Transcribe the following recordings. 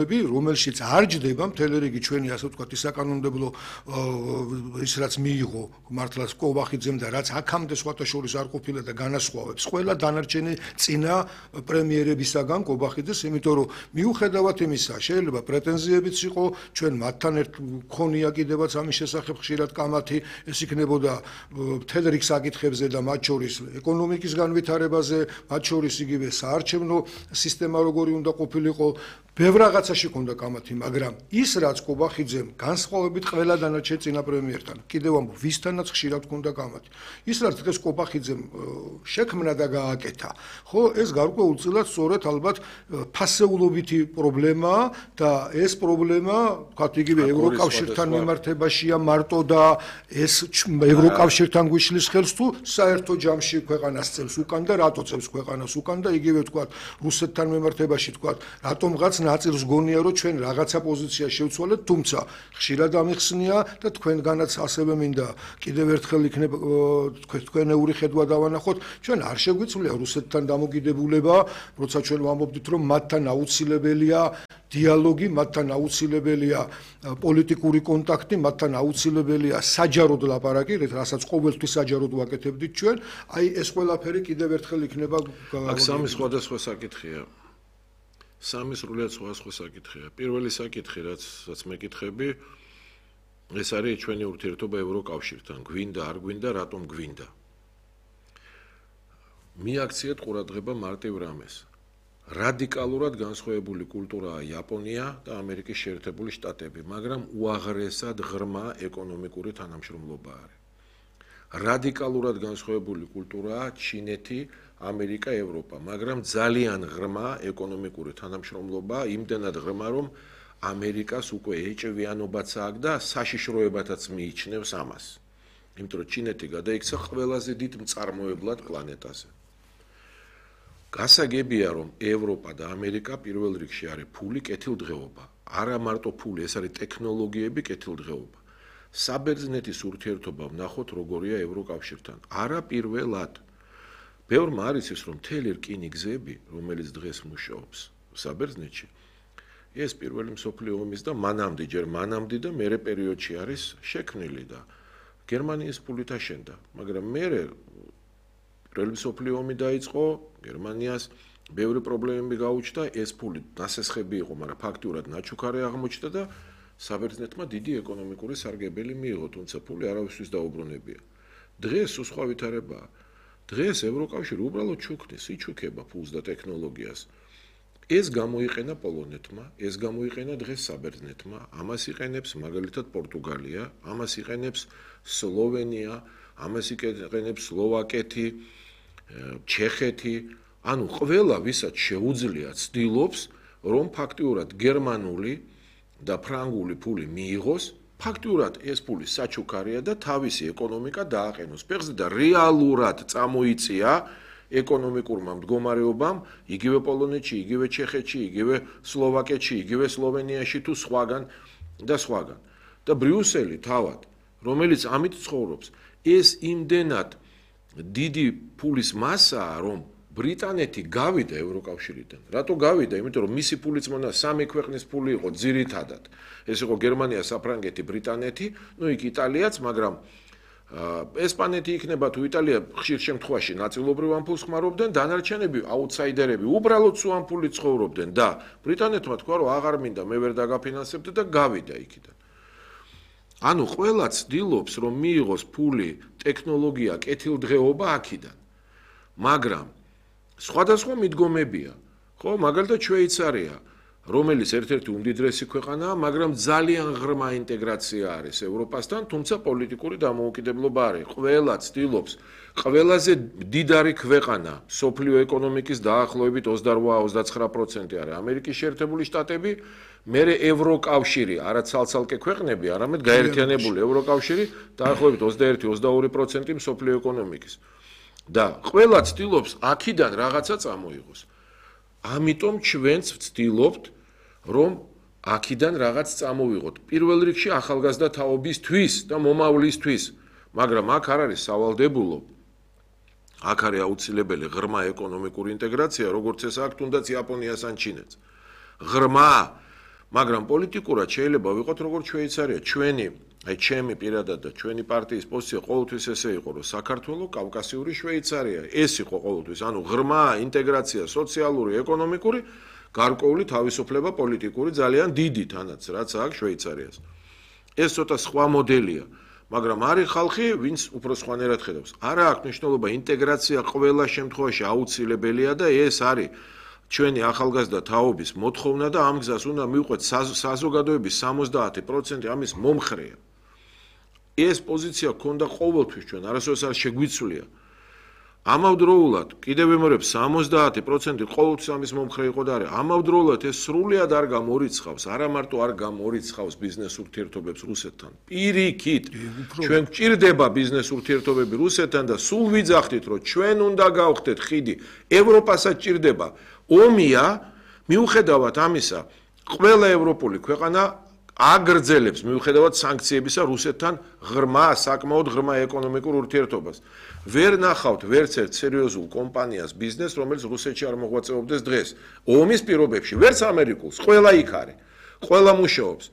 რომელშიც არ ჯდება მთელი რიგი ჩვენი ასე ვთქვათ საკანონმდებლო ის რაც მიიღო მართლაც კოვახიძემ და რაც აქამდე სხვათა შორის არ ყოფილა და განასხვავებს ყველა დანარჩენი წინა პრემიერებისაგან კოვახიძეს, იმიტომ რომ მიუხედავად იმისა, შეიძლება პრეტენზიებიც იყო, ჩვენ მათთან ერთ ქონია კიდევაც ამის შესახებ ხშირად კამათი, ეს იქნებოდა მთელ რიგ საკითხებზე და მათ შორის ეკონომიკის განვითარებაზე, მათ შორის იგივე საარჩევნო სისტემა როგორი უნდა ყოფილიყო, ბევრ რაღაცაში ქონდა კამათი, მაგრამ ის რაც კობახიძემ განსხვავებით ყველა დანარჩენ წინა პრემიერთან, კიდევ ამბობ, ვისთანაც ხშირად ქონდა კამათი. ის რაც დღეს კობახიძემ შექმნა და გააკეთა, ხო, ეს გარკვეულწილად სწორედ ალბათ ფასეულობითი პრობლემაა და ეს პრობლემა, ვთქვათ, იგივე ევროკავშირთან მიმართებაშია მარტო და ეს ევროკავშირთან გვიშლის ხელს თუ საერთო ჯამში ქვეყანას წევს უკან და რატო წევს ქვეყანას უკან და იგივე ვთქვათ, რუსეთთან მიმართებაში ვთქვათ, რატომღაც ნაწილს გონია რომ ჩვენ რაღაცა პოზიცია შევცვალეთ, თუმცა ხშირად ამიხსნია და თქვენგანაც ასევე მინდა კიდევ ერთხელ იქნება თქვენეული ხედვა დავანახოთ, ჩვენ არ შეგვიძლია რუსეთთან დამოკიდებულება, როცა ჩვენ ვამბობთ რომ მათთან აუცილებელია დიალოგი, მათთან აუცილებელია პოლიტიკური კონტაქტი, მათთან აუცილებელია საჯაროდ ლაპარაკი, რასაც ყოველთვის საჯაროდ ვაკეთებდით ჩვენ, აი ეს ყველაფერი კიდევ ერთხელ იქნება აქ სამი სხვადასხვა საკითხია. სამი სრულიად სხვა საკითხია. პირველი საკითხი, რაც მეკითხები, ეს არის ჩვენი ურთიერთობა ევროკავშირთან. გვინდა, არ გვინდა, რატომ გვინდა? მიაქციეთ ყურადღება მარტივ რამეს. რადიკალურად განსხვავებული კულტურაა იაპონია და ამერიკის შეერთებული შტატები, მაგრამ უაღრესად ღრმა ეკონომიკური თანამშრომლობა არის. რადიკალურად განსხვავებული კულტურაა ჩინეთი, ამერიკა, ევროპა, მაგრამ ძალიან ღრმა ეკონომიკური თანამშრომლობა, იმდენად ღრმა, რომ ამერიკას უკვე ეჭვიანობაც აქვს და საშიშროებათაც მიიჩნევს ამას. იმიტომ რომ ჩინეთი გადაიქცა ყველაზე დიდ მწარმოებლად პლანეტაზე. გასაგებია, რომ ევროპა და ამერიკა პირველ რიგში არის ფული, კეთილდღეობა. არა მარტო ფული, ეს არის ტექნოლოგიები, კეთილდღეობა. საბერძნეთის ურთიერთობა ვნახოთ როგორია ევროკავშირთან. არა პირველად. ბევრმა არის ის, რომ მთელი რკინიგზები, რომელიც დღეს მუშაობს საბერძნეთში, ეს პირველი მსოფლიო ომის და ჯერ მანამდე და მერე პერიოდში არის შექმნილი და გერმანიის ფულით აშენდა, მაგრამ მერე პირველი მსოფლიო ომი დაიწყო, გერმანიას ბევრი პრობლემები გაუჩნდა, ეს ფული ნასესხები იყო, მაგრამ ფაქტურად ნაჩუქარი აღმოჩნდა და საბერძნეთმა დიდი ეკონომიკური სარგებელი მიიღო, თუმცა ფული არავისთვის დაუბრუნებია. დღეს სხვა ვითარებაა. დღეს ევროკავშირი უბრალოდ ჩუქნის, იჩუქება ფულს და ტექნოლოგიას. ეს გამოიყენა პოლონეთმა, ეს გამოიყენა დღეს საბერძნეთმა, ამას იყენებს მაგალითად პორტუგალია, ამას იყენებს სლოვენია, ამას იყენებს სლოვაკეთი, ჩეხეთი, ანუ ყველა ვისაც შეუძლია ცდილობს, რომ ფაქტიურად გერმანული და ფრანგული ფული მიიღოს, ფაქტიურად ეს ფული საჩუქარია და თავისი ეკონომიკა დააყენოს ფეხზე და რეალურად წამოიწია ეკონომიკურმა მდგომარეობამ იგივე პოლონეთში, იგივე ჩეხეთში, იგივე სლოვაკეთში, იგივე სლოვენიაში თუ სხვაგან და სხვაგან. და ბრიუსელი თავად, რომელიც ამით ცხოვრობს, ეს იმდენად დიდი ფულის მასაა, რომ ბრიტანეთი გავიდა ევროკავშირიდან. რატო გავიდა? იმიტომ რომ მისი ფულიც მონა სამი ქვეყნის ფული იყო ძირითადად. ეს იყო გერმანია, საფრანგეთი, ბრიტანეთი, ну იქ იტალიაც, მაგრამ ესპანეთი იქნება თუ იტალია ხშირ შემთხვევაში ნაწილობრივ ამ ფულს ხმარობდნენ, დანარჩენები აუთსაიდერები უბრალოდ სულ ამ ფულით ცხოვრობდნენ და ბრიტანეთმა თქვა რომ აღარ მინდა, მე ვერ დაგაფინანსებდი და გავიდა იქიდან. ანუ ყველა ცდილობს რომ მიიღოს ფული, ტექნოლოგია, კეთილდღეობა აქედან. მაგრამ სხვადასხვა მიდგომებია. ხო, მაგალითად შვეიცარია, რომელიც ერთ-ერთი უმდიდრესი ქვეყანაა, მაგრამ ძალიან ღრმა ინტეგრაცია არის ევროპასთან, თუმცა პოლიტიკური დამოუკიდებლობა არის. ყველა ცდილობს, ყველაზე დიდარი ქვეყანა, სოფლიო ეკონომიკის დაახლოებით 28-29% არის ამერიკის შეერთებული შტატები, მერე ევროკავშირი, არა ცალ-ცალკე ქვეყნები, არამედ გაერთიანებული ევროკავშირი, დაახლოებით 21-22% სოფლიო ეკონომიკის. და ყველა ცდილობს აქედან რაღაცა წამოიღოს. ამიტომ ჩვენც ვცდილობთ, რომ აქედან რაღაც წამოვიღოთ. პირველ რიგში ახალგაზრდა თაობისთვის და მომავლისთვის, მაგრამ აქ არ არის სავალდებულო. აქ არის აუცილებელი ღრმა ეკონომიკური ინტეგრაცია, როგორც ეს აქვს თუნდაც იაპონიას ან ჩინეთს. ღრმა მაგრამ პოლიტიკურად შეიძლება ვიყოთ როგორც შვეიცარია. ჩემი პირადად და ჩვენი პარტიის პოზიცია ყოველთვის ესე იყო, რომ საქართველო კავკასიური შვეიცარია. ეს იყო ყოველთვის, ანუ ღრმა ინტეგრაცია სოციალური, ეკონომიკური, გარკვეული თავისუფლება პოლიტიკური ძალიან დიდი თანაც, რაც აქვს შვეიცარიას. ეს ცოტა სხვა მოდელია, მაგრამ არის ხალხი, ვინც უფრო სხვანაირად ხედავს. არა აქვს მნიშვნელობა ინტეგრაცია ყველა შემთხვევაში აუცილებელია და ეს არის ჩვენი ახალგაზრდა თაობის მოთხოვნა და ამ გზას უნდა მივყვეთ საზოგადოების 70% ამის მომხრეა. ეს პოზიცია ქონდა ყოველთვის ჩვენ, არასოდეს არ შეგვიცვლია. ამავდროულად, კიდევ ვიმეორებ 70% ყოველთვის ამის მომხრე იყო და არის. ამავდროულად ეს სრულად არ გამორიცხავს, არა მარტო არ გამორიცხავს ბიზნეს ურთიერთობებს რუსეთთან. პირიქით, ჩვენ გვჭირდება ბიზნეს ურთიერთობები რუსეთთან და სულ ვიძახდით, რომ ჩვენ უნდა გავხდეთ ხიდი, ევროპასაც ჭირდება. ომია, მიუხედავად ამისა, ყველა ევროპული ქვეყანა აგრძელებს მიუხედავად სანქციებისა რუსეთთან საკმაოდ ღრმა ეკონომიკურ ურთიერთობას. ვერ ნახავთ ვერც ერთ სერიოზულ კომპანიას ბიზნესს, რომელიც რუსეთში არ მოღვაწეობდეს დღეს. ომის პირობებში, ვერც ამერიკულს, ყველა იქ არის, ყველა მუშაობს.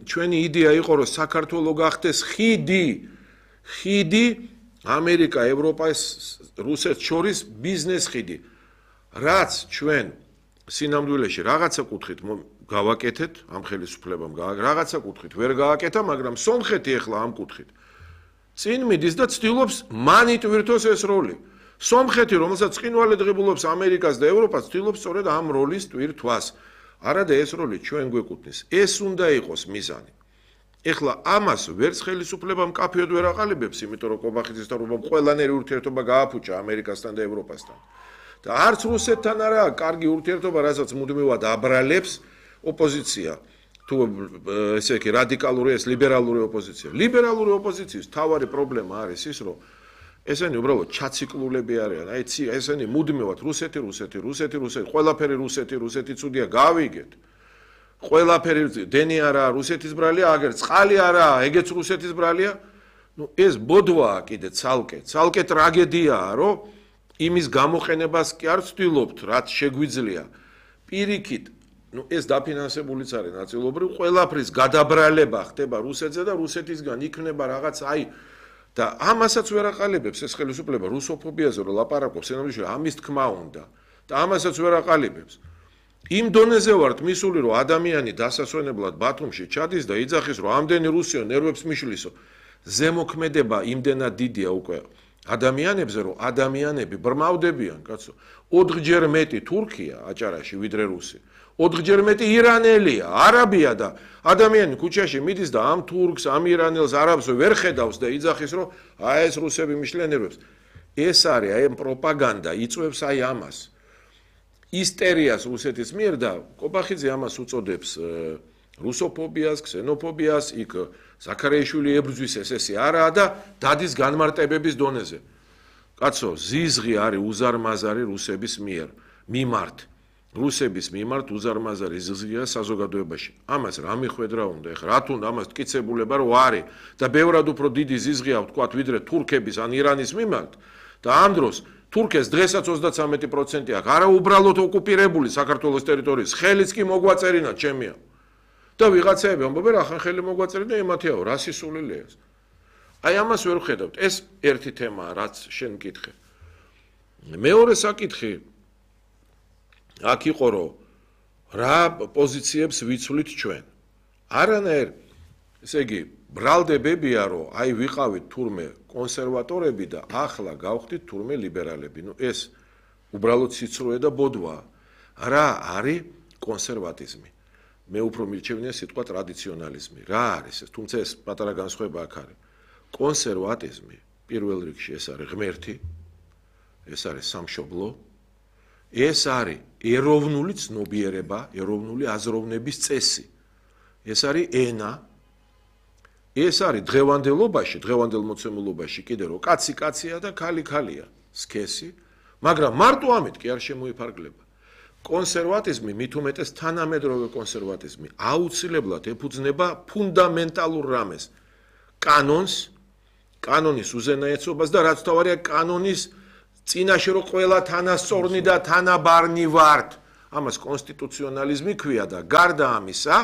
ჩვენი იდეა იყო, რომ საქართველო გახდეს ხიდი ამერიკა, ევროპა, რუსეთს შორის ბიზნეს ხიდი. რაც ჩვენ სინამდვილეში რაღაცა კუთხით გავაკეთეთ, ამ ხელისუფლებამ რაღაცა კუთხით ვერ გააკეთა, მაგრამ სომხეთი ახლა ამ კუთხით წინ მიდის და ცდილობს მან იტვირთოს ეს როლი. სომხეთი, რომელსაც ცხინვალე ღებულობს ამერიკას და ევროპას, ცდილობს სწორედ ამ როლის ტვირთვას. არადა ეს როლი ჩვენ გვეკუთვნის. ეს უნდა იყოს მიზანი. ეხლა ამას ვერც ხელისუფლება მკაფიოდ ვერ აყალიბებს, იმიტომ რომ კობახიძის თავრობამ ყველანაირი ურთიერთობა გააფუჭა ამერიკასთან და ევროპასთან. და არც რუსეთთან არა კარგი ურთიერთობა, რასაც მუდმივად აბრალებს ოპოზიცია. თუ ესე იგი რადიკალური ეს ლიბერალური ოპოზიცია. ლიბერალური ოპოზიციის თავარი პრობლემა არის ის, რომ ესენი უბრალოდ ჩაციკლულები არიან. აი ესენი მუდმივად რუსეთი, ყველაფერი რუსეთი ცუდია, გავიგეთ. ყველაფერი დენი არა, რუსეთის ბრალია, აგერ წყალი არა, ეგეც რუსეთის ბრალია. ეს ბოდვაა კიდე ცალკე ტრაგედიაა, რომ იმის გამოყენებას კი არ ვცდილობთ, რაც შეგვიძლია. პირიქით, ეს დაფინანსებულიც არის ნაწილობრივ, ყველაფრის გადაბრალება ხდება რუსეთზე და რუსეთისგან იქნება რაღაც და ამასაც ვერ აყალიბებს ეს ხელისუფლება რუსოფობიაზე რომ ლაპარაკობს, ენამდვილად ამის თქმა უნდა და ამასაც ვერ აყალიბებს. იმ დონეზე ვართ მისული, რომ ადამიანი დასასვენებლად ბათუმში ჩადის და იძახის, რომ ამდენი რუსიო ნერვებს მიშლისო. ზემოქმედება იმდენად დიდია უკვე ადამიანებზე, რომ ადამიანები ბრმავდებიან, კაცო. 4-ჯერ მეტი თურქია აჭარაში ვიდრე რუსი. 4-ჯერ მეტი ირანელია, არაბია და ადამიანი ქუჩაში მიდის და ამ თურქს, ამ ირანელს, არაბს ვერ ხედავს და იძახის, რომ ეს რუსები მიშლიან ნერვებს. ეს არის აი პროპაგანდა, იწვევს აი ამას. ისტერიას რუსეთის მიერ და კობახიძე ამას უწოდებს რუსოფობიას, ქსენოფობიას, იქ ზაქარიაშვილი ებრძვის ესე არაა და დადის განმარტებების დონეზე. კაცო, ზიზღი არის უზარმაზარი რუსების მიმართ უზარმაზარი ზიზღია საზოგადოებაში. ამას რა მიხვედრა უნდა, ეხლა რა თუნდა ამას ტკიცებულება რო არის და ბევრად უფრო დიდი ზიზღია ვთქვათ ვიდრე თურქების ან ირანის მიმართ და ამ დროს თურქეს დღესაც 33% აქვს, არა უბრალოდ ოკუპირებული საქართველოს ტერიტორიის, ხელიც კი მოგვაწერინა ჩემია. და ვიღაცაები ამბობენ, ახან ხელი მოგვაწერინა ემათიაო, რა სისულელია ეს. აი ამას ვერ ვხედავთ. ეს ერთი თემაა, რაც შენ მკითხე. მეორე საკითხი აქ იყო, რომ რა პოზიციებს ვიცვლით ჩვენ. არანაირ, ესე იგი, ბრალდებებია, რომ აი ვიყავით თურმე კონსერვატორები და ახლა გავხდით თურმე ლიბერალები. ეს უბრალოდ სიცრუე და ბოდვაა. რა არის კონსერვატიზმი? მე უფრო მირჩევნია სიტყვა ტრადიციონალიზმი. რა არის ეს? თუმცა ეს პატარა განსხვავება აქ არის. კონსერვატიზმი პირველ რიგში ეს არის ღმერთი, ეს არის სამშობლო, ეს არის ეროვნული ცნობიერება, ეროვნული აზროვნების წესი. ეს არის ენა, ეს არის დღევანდელ მოცემულობაში კიდე რომ კაცი კაცია და ქალი ქალია, სქესი, მაგრამ მარტო ამით კი არ შემოიფარგლება. კონსერვატიზმი, მით უმეტეს თანამედროვე კონსერვატიზმი, აუცილებლად ეფუძნება ფუნდამენტალურ რამეს, კანონის უზენაესობას და რაც თავარია კანონის წინაშე რომ ყველა თანასწორნი და თანაბარნი ვართ. ამას კონსტიტუციონალიზმი ქვია და გარდა ამისა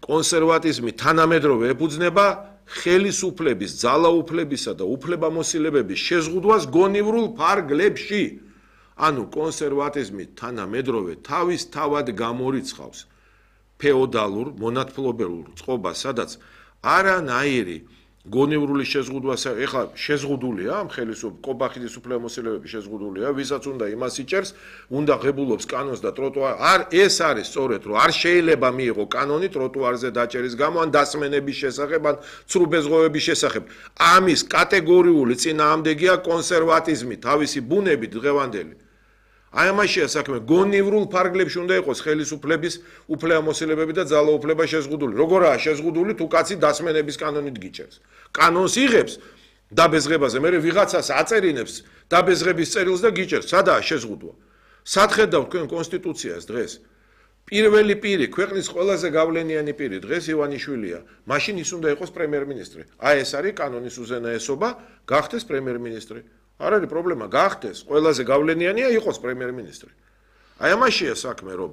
კონსერვატიზმი თანამედროვე ეფუძნება ხელისუფლების, ძალაუფლებისა და უფლებამოსილებების შეზღუდვას გონივრულ ფარგლებში. ანუ კონსერვატიზმი თანამედროვე თავისთავად გამორიცხავს ფეოდალურ მონათმფლობელურ წყობას, სადაც არანაირი გონივრული შეზღუდვა, ეხლა შეზღუდულია ამ ხელისუფლების კობახიძის უფლებამოსილებების შეზღუდულია, ვისაც უნდა იმას იჭერს, უნდა ღებულობს კანონს და ტროტუარ. ეს არის სწორედ, რომ არ შეიძლება მიიღო კანონი ტროტუარზე დაჭერის გამო, ან დასმენების შესახებ, ან ცრუბეზღოვების შესახებ. ამის კატეგორიული წინააღმდეგია კონსერვატიზმი, თავისი ბუნებით დღევანდელი. აი ამაშია საქმე, გონივრულ ფარგლებში უნდა იყოს ხელისუფლების უფლებამოსილებები და ძალაუფლება შეზღუდული. როგორაა შეზღუდული, თუ კაცი დასმენების კანონით გიჭერს. კანონს იღებს დაბეზღებაზე, მე ვიღაცას აწერინებს დაბეზღების წერილს და გიჭერს. სადაა შეზღუდვა? სად ხედავთ თქვენ კონსტიტუციას დღეს? პირველი პირი, ქვეყნის ყველაზე გავლენიანი პირი დღეს ივანიშვილია. მაშინ ის უნდა იყოს პრემიერ-მინისტრი. აი ეს არის კანონის უზენაესობა, გახდეს პრემიერ-მინისტრი. არ არის პრობლემა, გახდეს, ყველაზე გავლენიანია იყოს პრემიერ-მინისტრი. აი ამაშია საქმე, რომ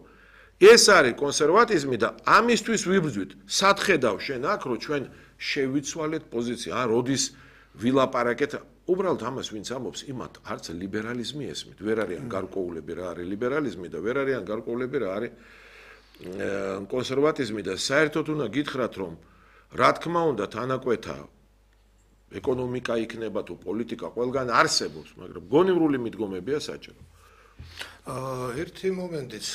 ეს არის კონსერვატიზმი და ამისთვის ვიბრძვით. სად ხედავ შენ აქ, რომ ჩვენ შევიცვალეთ პოზიცია, როდის ვილაპარაკეთ, უბრალოდ ამას ვინც ამბობს, იმათ არც ლიბერალიზმი ესმით, ვერ არიან გარკვეულები რა არის ლიბერალიზმი და ვერ არიან გარკვეულები რა არის კონსერვატიზმი და საერთოდ უნდა გითხრათ, რომ რა თქმა უნდა თანაკვეთა ეკონომიკა იქნება თუ პოლიტიკა ყველგან არსებობს, მაგრამ გონივრული მიდგომებია საჭირო. ერთი მომენტიც,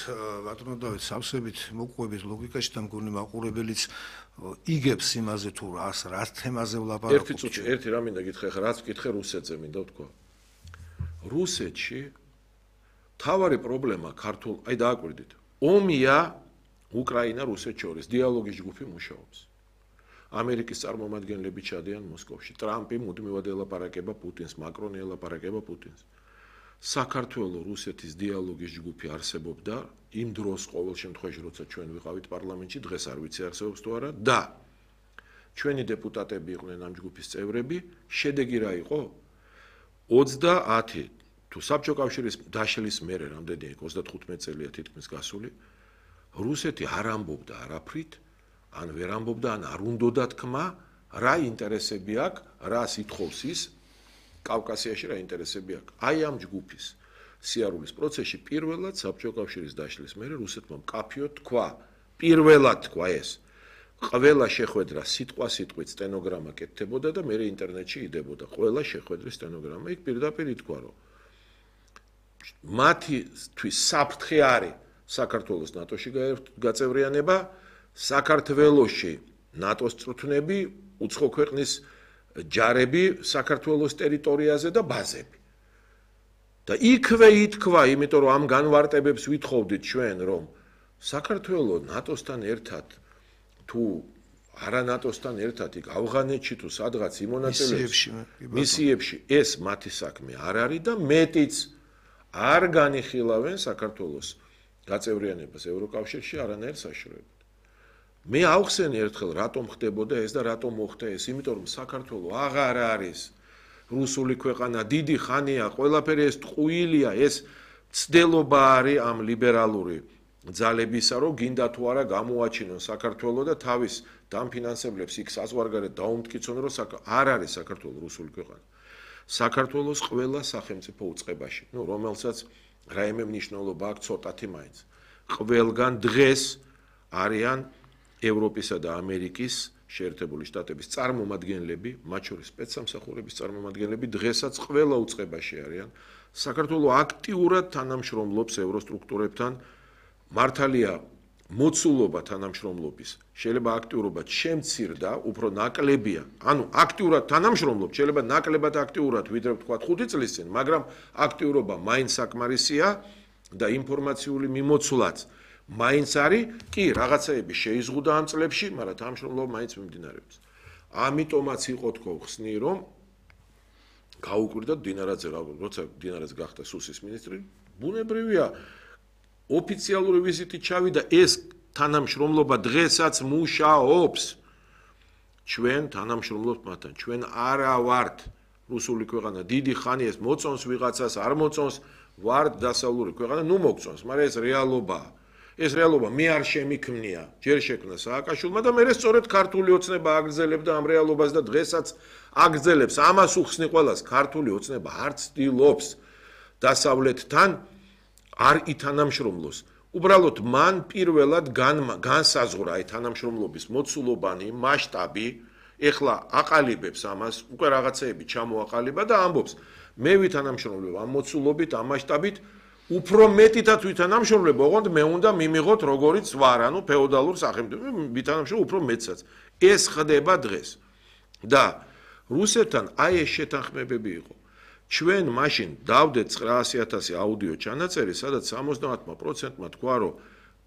ბატონო დავით, სავსებით მოყვებით ლოგიკაში და მგონი მაყურებელიც იგებს იმაზე თუ რას თემაზე ვლაპარაკობთ. ერთი წუთი, ერთი რა მინდა გითხრა, ხა რაც გითხე რუსეთზე მინდა ვთქვა. რუსეთში თავარი პრობლემა ქართულ, აი დააკვირდით. ომია უკრაინა რუსეთს შორის დიალოგის ჯგუფი მუშაობს. ამერიკის წარმომადგენლები ჩადიან მოსკოვში. ტრამპი მუდმივად ელაპარაკება პუტინს, მაკრონი ელაპარაკება პუტინს. საქართველოს რუსეთის დიალოგის ჯგუფი არსებობდა იმ დროს ყოველ შემთხვევაში, როცა ჩვენ ვიყავით პარლამენტში, დღეს არ ვიცი არსებობს თუ არა და ჩვენი დეპუტატები იყვნენ ამ ჯგუფის წევრები, შედეგი რა იყო? 30 თუ საბჭო კავშირის დაშლის მერე რამდენი იყო 35 წელია თითქმის გასული, რუსეთი არ ამბობდა არაფრით, ან ვერ ამბობდა, ან არ უნდოდა თქმა, რა ინტერესები აქვს, რას ითხოვს ის კავკასიაში რა ინტერესები აქვს. აი ამ ჯგუფის სიარულის პროცესში პირველად საბჭო კავშირის დაშლის მერე რუსეთმა მკაფიოდ თქვა, პირველად თქვა ეს. ყველა შეხვედრა სიტყვით სტენოგრამა კეთდებოდა და მერე ინტერნეტში იდებოდა. ყველა შეხვედრის სტენოგრამა იქ პირდაპირ ითქვა, რომ მათთვის საფრთხე არის საქართველოს ნატოში გაწევრიანება, საქართველოში ნატოს წვრთნები, უცხო ქვეყნის ჯარები საქართველოს ტერიტორიაზე და ბაზები. და იქვე ითქვა, იმიტომ რომ ამ განვარტებებს ვითხოვდით ჩვენ, რომ საქართველოს ნატოსთან ერთად თუ არა ნატოსთან ერთად იქ ავღანეთში თუ სადღაც იმონაწილეებს მისიებში ეს მათი საქმე არ არის და მეტიც არ განიხილავენ საქართველოს გაწევრიანებას ევროკავშირში არანაირ საშუალებად. მე ავხსენე ერთხელ რატომ ხდებოდა ეს და რატომ მოხდა ეს, იმიტომ რომ საქართველოს აღარ არის რუსული ქვეყანა, დიდი ხანია, ყველაფერი ეს ტყუილია, ეს ცდელობა არის ამ ლიბერალური ძალებისა, რომ გინდა თუ არა გამოაჩინონ საქართველოს და თავის დამფინანსებლებს იქ საზღვარგარეთ დაუმტკიცონ, რომ არ არის საქართველოს რუსული ქვეყანა. საქართველოს ყველა სახელმწიფო უწყებაში, რომელსაც რაიმე მნიშვნელობა აქვს ცოტათი მაინც. ყველგან დღეს არიან ევროპისა და ამერიკის შეერთებული შტატების წარმომადგენლები, მათ შორის სპეცსამსახურების წარმომადგენლები დღესაც ყველა უწყებაში არიან. საქართველოს აქტიურად თანამშრომლობს ევროსტრუქტურებთან, მართალია მოცულობა თანამშრომლობის შეიძლება აქტიურობად შემცირდა, უფრო ნაკლებია. ანუ აქტიურად თანამშრომლობთ, შეიძლება ნაკლებად აქტიურად ვიდრე ვთქვათ 5 წლის წინ, მაგრამ აქტიურობა მაინც საკმარისია და ინფორმაციული მიმოცვლაც მაინც არის, კი, რაღაცეები შეიზღუდა ამ წლებში, მაგრამ თანამშრომლობა მაინც მიმდინარეობს. ამიტომაც იყო თქო ხსნი, რომ გაუკვირდა დინარაძე, როცა დინარაძე გახდა სუსის მინისტრი, ბუნებრივია ოფიციალური ვიზიტით ჩავიდა ეს თანამშრომლობა დღესაც მუშაობს. ჩვენ თანამშრომლობთ მათთან, ჩვენ არა ვართ რუსული ქვეყანა, დიდი ხანი ეს მოწონს ვიღაცას, არ მოწონს, ვარ დასავლური ქვეყანა, ნუ მოგწონს, მაგრამ ეს რეალობაა. ეს რეალობა მე არ შემიქმნია, ჯერ შექმნა სააკაშვილმა და მე სწორედ ქართული ოცნება აგრძელებდა ამ რეალობას და დღესაც აგრძელებს. ამას უხსნი ყველას, ქართული ოცნება არ ცდილობს დასავლეთთან არ ითანამშრომლოს. უბრალოდ მან პირველად განსაზღვრა აი თანამშრომლობის მოცულობანი, მასშტაბი, ეხლა აყალიბებს ამას, უკვე რაღაცეები ჩამოაყალიბა და ამბობს, მე ვითანამშრომლებ ამ მოცულობით, ამ მასშტაბით, უფრო მეტითაც ვითანამშრომლებ, ოღონდ მე უნდა მიმიღოთ როგორიც ვარ, ანუ ფეოდალურ სახელმწიფო, ვითანამშრომლებ უფრო მეტსაც. ეს ხდება დღეს. და რუსეთთან აი ეს შეთანხმებები იყო. ჩვენ მაშინ დავდეთ 900,000 აუდიო ჩანაწერი, სადაც 70%-მა თქვა, რომ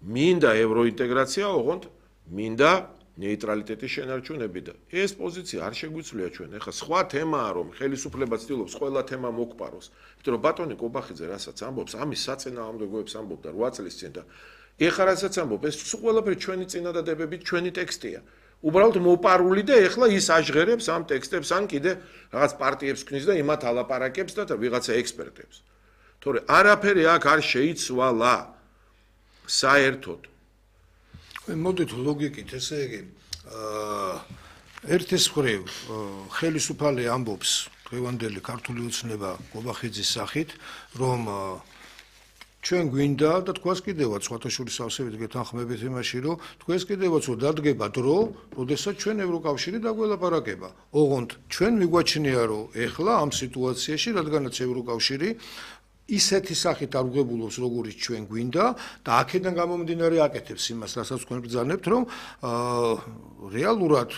მინდა ევროინტეგრაცია, ოღონდ მინდა ნეიტრალიტეტის შენარჩუნები და ეს პოზიცია არ შეგვიძლია ჩვენ. ეხლა სხვა თემაა, რომ ხელისუფლება ცდილობს ყველა თემა მოგპაროს. იმიტომ რომ ბატონი კობახიძე რასაც ამბობს, ამის საწინააღმდეგოებს ამბობდა 8 წლის წინ და ეხლა რასაც ამბობს, ეს ყველაფერი ჩვენი წინადადებებით, ჩვენი ტექსტია. უბრალოდ მოპარული და ეხლა ის აჟღერებს ამ ტექსტებს, ან კიდე რაღაც პარტიებს ქნის და იმათ ალაპარაკებს და ვიღაცა ექსპერტებს. თორე არაფერი აქ არ შეიცვალა საერთოდ. მოდით ლოგიკით, ესე იგი, ერთის მხრივ ხელისუფალი ამბობს დღევანდელი ქართული ოცნება კობახიძის სახით, რომ ჩვენ გვინდა და თქვას კიდევაც სხვათა შორის ავსებით გეთანხმებით იმაში, რომ თქვენს კიდევაც დადგება დრო, როდესაც ჩვენ ევროკავშირი დაგველაპარაკება. ოღონდ ჩვენ მიგვაჩნია, რომ ეხლა ამ სიტუაციაში, რადგანაც ევროკავშირი ისეთი სახით არ უღებულობს, როგორიც ჩვენ გვინდა და აქედან გამომდინარე აკეთებს იმას, რასაც თქვენ ბრძანებთ, რომ რეალურად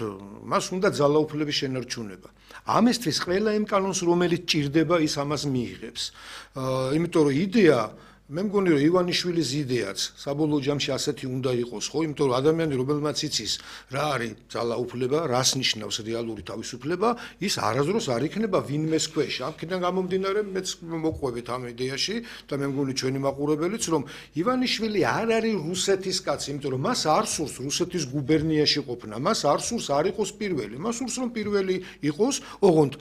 მას უნდა ძალაუფლების შენარჩუნება. ამისთვის ყველა იმ კანონს, რომელიც ჭირდება, ის ამას მიიღებს. იმიტომ რომ იდეა მე მგონი რომ ივანიშვილის იდეაც საბოლოო ჯამში ასეთი უნდა იყოს, ხო? იმიტომ რომ ადამიანი რომელმაც იცის რა არის ძალაუფლება, რას ნიშნავს რეალური თავისუფლება, ის არასდროს არ იქნება ვინმეს ქვეშ. აქედან გამომდინარე მეც მოყვებით ამ იდეაში და მე მგონი ჩვენი მაყურებელიც რომ ივანიშვილი არ არის რუსეთის კაცი, იმიტომ რომ მას არ სურს რუსეთის გუბერნიაში ყოფნა, მას არ სურს არ იყოს პირველი, მას სურს რომ პირველი იყოს, ოღონდ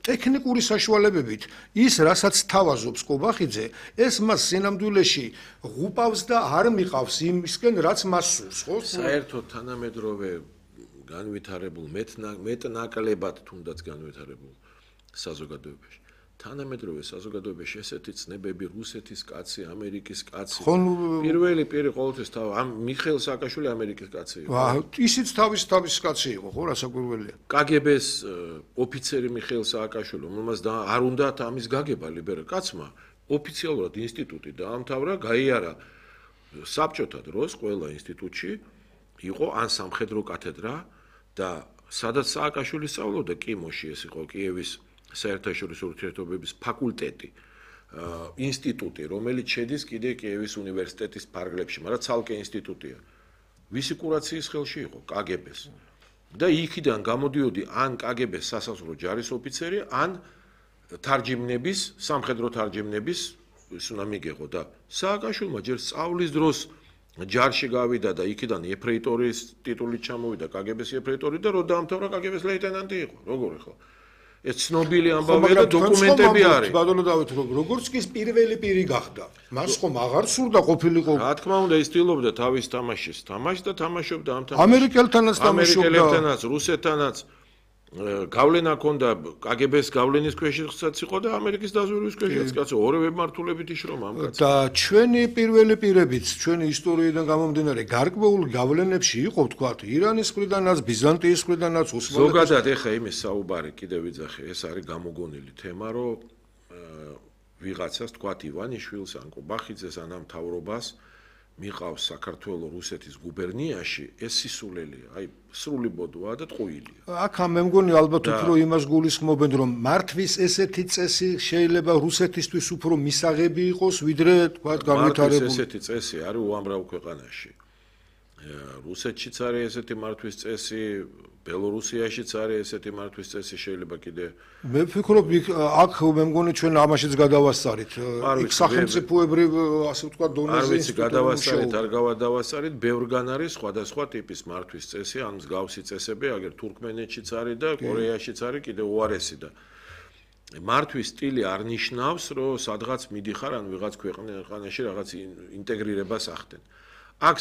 ტექნიკური საშუალებებით ის რასაც თავაზობს კობახიძე, ეს მას სინამდვილეში ღუპავს და არ მიყავს იმისკენ, რაც მას სურს, ხო? საერთოდ თანამედროვე განვითარებულ მეტნაკლებად თუნდაც განვითარებულ საზოგადოებაში. თანამედროვე საზოგადოებაში ესეთი ცნებები რუსეთის კაცი, ამერიკის კაცი. პირველი ყოველთვის ამ მიხეილ სააკაშვილი ამერიკის კაცი იყო. ისიც თავის კაცი იყო, ხო, რასაკვირველია. კგბ-ს ოფიცერი მიხეილ სააკაშვილი, რომელმაც არ უნდათ ამის გაგება ლიბერალ კაცმა, ოფიციალურად ინსტიტუტი დაამთავრა, გაიარა საბჭოთა დროს ყველა ინსტიტუტში იყო ან სამხედრო კათედრა და სადაც სააკაშვილი სწავლობდა კიმოში, ეს იყო კიევის საერთაშორისო ურთიერთობების ფაკულტეტი, ინსტიტუტი, რომელიც შედის კიდე კიევის უნივერსიტეტის ფარგლებში, მაგრამ ცალკე ინსტიტუტია. ვისი კურაციის ხელში იყო? კგბ-ს. და იქიდან გამოდიოდი ან კგბ-ს სასაზღვრო ჯარის ოფიცერი, ან თარჯიმნების, სამხედრო თარჯიმნების ის უნდა მიიღო და სააკაშვილმა ჯერ სწავლის დროს ჯარში გავიდა და იქიდან ეფრეიტორის ტიტულით ჩამოვიდა კგბ-ს ეფრეიტორი და რო დაამთავრა კგბ-ს ლეიტენანტი იყო. როგორ ახლა? ეს ცნობილი ამბავია და დოკუმენტები არის. ბატონო დავით, როგორც კი პირველი პირი გახდა. მას ხომ აღარ სურდა ყოფილიყო. რა თქმა უნდა, ის ცდილობდა თავის თამაშის თამაშს და თამაშობდა ამ თამაშს. ამერიკელთანაც თამაშობდა. ამერიკელთანაც, რუსეთთანაც გავლენა ჰქონდა კგბ-ს გავლენის ქვეშაც იყო და ამერიკის დაზვერვის ქვეშაც კაცო, ორივე მართულებით იშრომ ამ კაცს. და ჩვენი პირველი პირებიც, ჩვენი ისტორიიდან გამომდინარე, გარკვეულ გავლენებში იყო, თქვათ, ირანის მხრიდანაც, ბიზანტიის მხრიდანაც, ოსმალეთის. ზოგადად ეხა იმის საუბარი კიდევ ვიძახე, ეს არის გამოგონილი თემა, რომ ვიღაცას თქვათ ივანიშვილს, ან კობახიძეს, ან ამ მთავრობას მიყავს საქართველოს რუსეთის გუბერნიაში, ეს სისულელია, აი სრული ბოდვაა და ტყუილია. აქ მე მგონი ალბათ უფრო იმას გულისხმობენ, რომ მართვის ესეთი წესი შეიძლება რუსეთისთვის უფრო მისაღები იყოს, ვიდრე თქვათ განვითარებული. ესეთი წესი არის უამრავ ქვეყანაში. რუსეთშიც არის ესეთი მართვის წესი, ბელორუსიაშიც არის ესეთი მართვის წესი, შეიძლება კიდე. მე ვფიქრობ, აქ მე მგონი ჩვენ ამაშიც გადავასწარით. იქ სახელმწიფოებრივ, ასე ვთქვათ, დონეზე ის გადავასწარით, არ გავადავასწარით, ბევრგან არის სხვადასხვა ტიპის მართვის წესი, ან მსგავსი წესები, აგერ თურქმენეთშიც არის და კორეაშიც არის კიდე უარესი და მართვის სტილი არ ნიშნავს, რომ სადღაც მიდიხარ ან ვიღაც ქვეყანაში რაღაც ინტეგრირებას ახდენ. აქ